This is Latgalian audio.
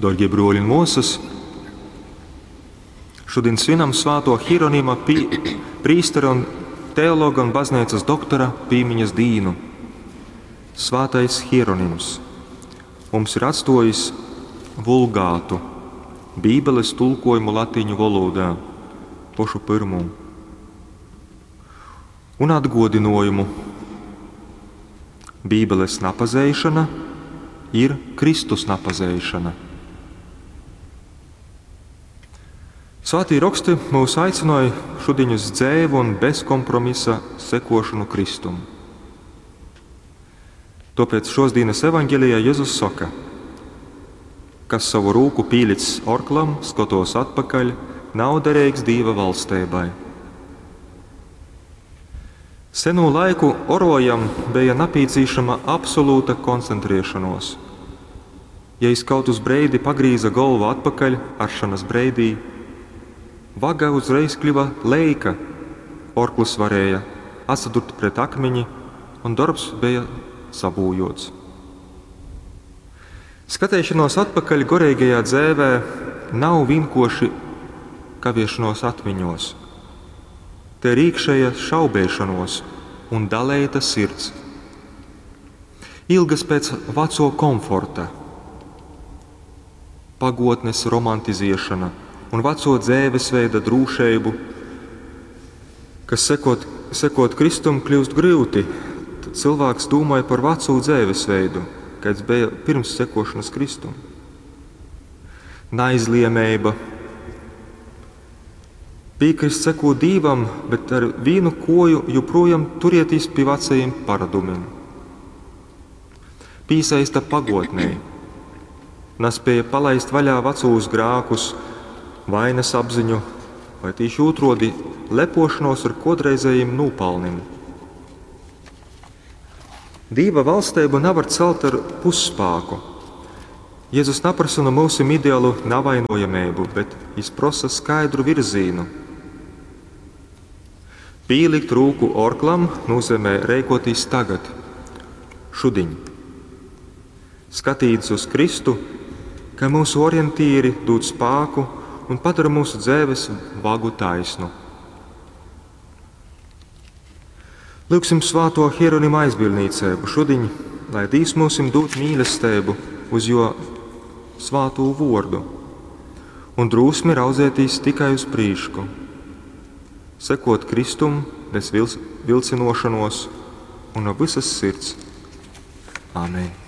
Dārgie bruoļi un muosys, šodien svinam svāto Hieronima prīstera un teologa un bazneicas doktora pīmiņas dīnu. Svātais Hieronims mums ir atstuojis vulgātu, Bībeles tulkojumu latīņu valodā, pošu pyrmū, un atguodynuojumu. Bībeles napazeišana ir Kristus napazeišana. Svātī roksti mūs aicināja šodien uz dzēvu un bezkompromisa sekošanu Kristum. Tāpēc šos dienas evaņģēlijā Jēzus saka, kas savu rūku pīlicis orklam, skatos atpakaļ, nav derīgs Dieva valstībai. Senu laiku orojam bija nepieciešama absolūta koncentrēšanos. Ja es kaut uz breidi pagrīza galvu atpakaļ aršanas breidī, vaga uzreiz kļuva leika, orkls varēja atsadurt pret akmeņi, un darbs bija sabūjots. Skatēšanos atpakaļ gorīgajā dzēvē nav vienkoši kaviešanos atmiņos. Te ir iekšēja šaubēšanos un dalēta sirds. Ilgas pēc veco komforta, pagotnes romantiziešana un veco dzēvesveida drūšeibu, kas sekot Kristum kļūst grūti, tad cilvēks domāja par veco dzēvesveidu, kāds bija pirms sekošanas Kristum. Naizliemeiba, piekrist sekot Dīvam, bet ar vīnu koju joprojām turieties pie vecajiem paradumiem. Pīsaista pagotnei, nespēja palaist vaļā vecos grākus, vainas apziņu vai tīši otrādi lepošanos ar kodreizējiem nopelniem. Dīva valstību nevar celt ar pusspāku. Jēzus neprasa no mūsim ideālu navainojamību, bet viņš prasa skaidru virzīnu. Pīlikt rūku orklam nozīmē rēkoties tagad, šudiņ. Skatīties uz Kristu, ka mūsu orientīri dod spāku un padara mūsu dzēves vagu taisnu. Lūksim svāto Hieronima aizbildnīcēbu šudiņ, lai Dīvs mūsim dod mīlestību uz jo svātū vordu un drūsmi raudzētīs tikai uz prīšku, sekot Kristum bez vilcinošanos un no visas sirds. Āmen!